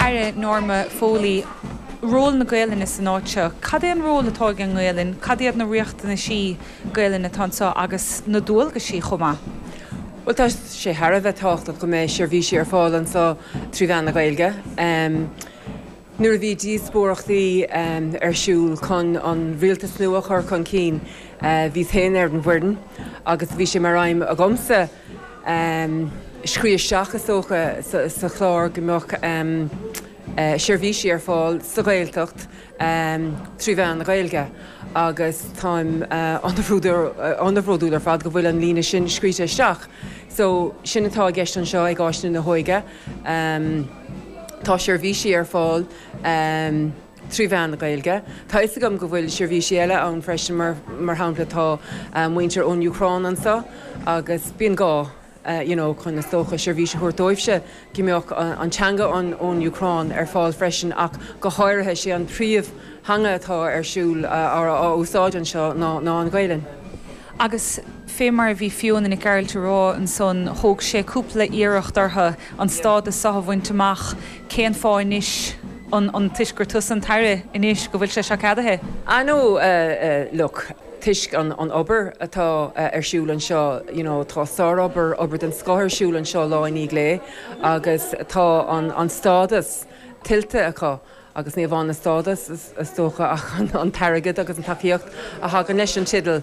tAire Norma Foley, ról na Gaelainne san áit seo. Cad é an ról atá ag an nGaelainn? Cad iad na riachtanaisí Gaelainne atá anseo agus na dualgaisí chomh maith? Bhuel, tá sé thar a bheith tábhachtach go mbeidh seirbhísí ar fáil anseo trí mheán na Gaeilge. Nuair a bhí díospóireachtaí ar siúl chun an rialtas nua a chur chun cinn, bhíos féin ar an bhfoireann agus bhí sé mar aidhm agamsa scríobh isteach, is dócha, sa chlár go mbeadh seirbhísí ar fáil sa Ghaeltacht trí mheán na Gaeilge agus táim an-bhródúil ar fad go bhfuil an líne sin scríte isteach. So, sin atá i gceist anseo ag Áis Nua na hÓige. Tá seirbhísí ar fáil trí mheán na Gaeilge. Tá fhios agam go bhfuil seirbhísí eile ann freisin, mar shampla tá muintir ón Úcráin anseo agus bíonn gá you know chun is dócha seirbhís a thabhairt dóibhse go mbeadh an teanga ón Úcráin ar fáil freisin ach go háirithe sé an príomhtheanga atá ar siúl á úsáid anseo ná an Ghaelainn. Agus fé mar a bhí Fiona Nic Gearailt a rá ansan, thóg sé cúpla iarracht orthu an stádas seo a bhaint amach, cén fáth anois, an toisc gur tusa an tAire anois go bhfuil sé seo ceadaithe? Ah no, look, toisc an obair atá ar siúl anseo, you know, tá sárobair, obair den scoth ar siúl anseo lá i ndiaidh lae agus tá an stádas tuillte acu Agus ní amháin an stádas, is dócha, ach an t-airgead agus an tacaíocht a thagann leis an teideal.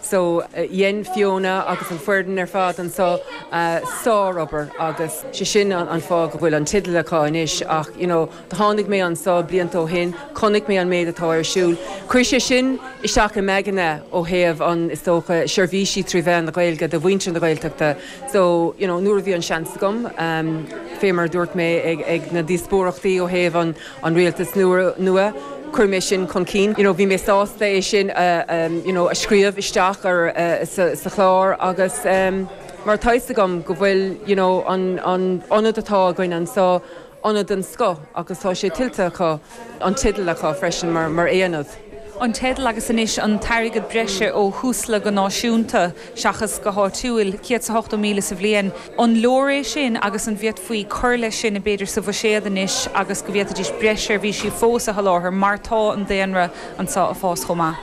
So, dhein Fiona agus an foireann ar fad anseo sár-obair agus sé sin an fáth go bhfuil an teideal acu anois. Ach, you know, do tháinig mé anseo blianta ó shin, chonaic mé an méid atá ar siúl. Chuir sé sin isteach i m'aigne ó thaobh an, is dócha, seirbhísí trí mheán na Gaeilge do mhuintir na Gaeltachta. So, you know, nuair a bhí an seans agam, fé mar a dúirt mé ag na díospóireachtaí ó thaobh an rialtas nua, chuir mé sin chun cinn. You know, bhí mé sásta é sin you know, a scríobh isteach ar, sa chlár agus mar tá fhios agam go bhfuil, you know, an ionad atá againn anseo, ionad den scoth agus tá sé tuillte acu, an teideal acu freisin mar aonad. An teideal agus anois an t-airgead breise ó Thúsla go náisiúnta seachas go háitiúil, 180,000 sa bhliain. An leor é sin agus an bhféadfaí cur leis sin b'fhéidir sa bhuiséad anois agus go bhféadfaidís breis seirbhísí fós a sholáthar mar tá an daonra anseo ag fás chomh maith?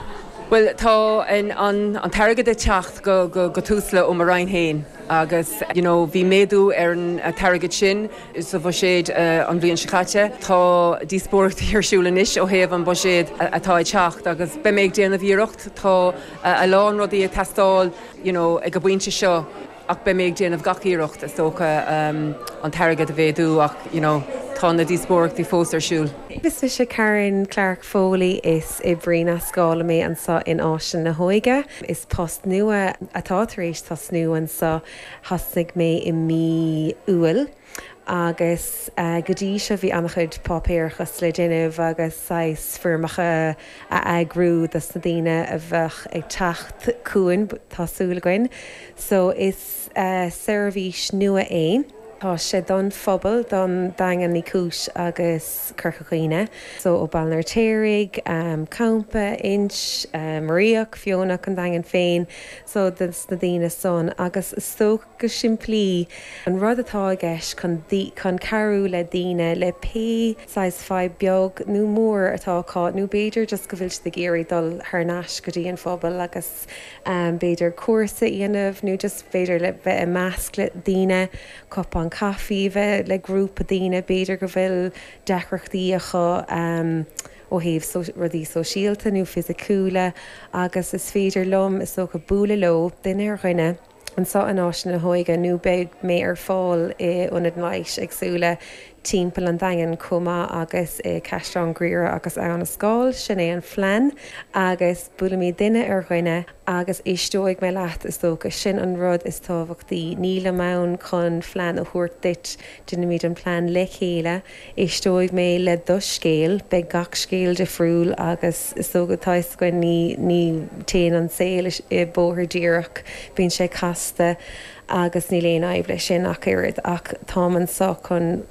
Bhuel, tá an t-airgead ag teacht go Túsla ó mo Roinn féin agus you know bhí méadú ar an t-airgead sin. sa bhuiséad an bhliain seo caite. Tá díospóireachtaí ar siúl anois ó thaobh an buiséad atá ag teacht agus beidh mé ag déanamh iarracht. Tá a lán rudaí ag teastáil you know ag an bpointe seo ach beidh mé ag déanamh gach iarracht is dócha an t-airgead a mhéadú ach you know tá na díospóireachtaí fós ar siúl. Is mise Karen Clarke Foley, is oibrí nascála mé anseo in Áislann na hÓige. Is post nua atá tar éis tosnú anseo. Thosnaigh mé i mí Iúil agus go dtí seo bhí an-chuid páipéarachas le déanamh agus saghas foirmeacha a eagrú dos na daoine a bheadh ag teacht chugainn, tá súil againn. So is seirbhís nua é. Tá sé don phobal, don Daingean Uí Chúis agus Corca Dhuibhne. So ó Baile an Fheirtéaraigh, Campa, Inse, Muiríoch, Feonach, an Daingean féin. so dos na daoine san agus is dócha go simplí an rud atá i gceist chun chun cabhrú le daoine le pé saghas fadhb beag nó mór atá acu nó b'fhéidir just go bhfuil siad ag iarraidh dul thar n-ais go dtí an phobal agus b'fhéidir cúrsa a dhéanamh nó just b'fhéidir le bheith i measc le daoine, cupán caife a bheith le grúpa daoine b'fhéidir go bhfuil deacrachtaí acu. ó thaobh rudaí sóisialta nó fisiciúla agus is féidir liom, is dócha, bualadh leo, duine ar dhuine, anseo in Áislann na hÓige nó beidh mé ar fáil i ionaid leighis éagsúla timpeall an Daingin chomh maith agus i Caisleán Ghriaire agus Abhainn an Scáil, sin é an phlean agus buailfimid duine ar dhuine agus éisteoidh mé leat, is dócha, sin an rud is tábhachtaí, nílim ann chun phlean a thabhairt duit, déanfaimid an plean le chéile. Éisteoidh mé le do scéal. Beidh gach scéal difriúil agus is dócha, tá fhios againn, ní, ní téann an saol i bóthar díreach, bíonn sé casta agus níl aon fhadhb leis sin ach oiread ach táim anseo chun.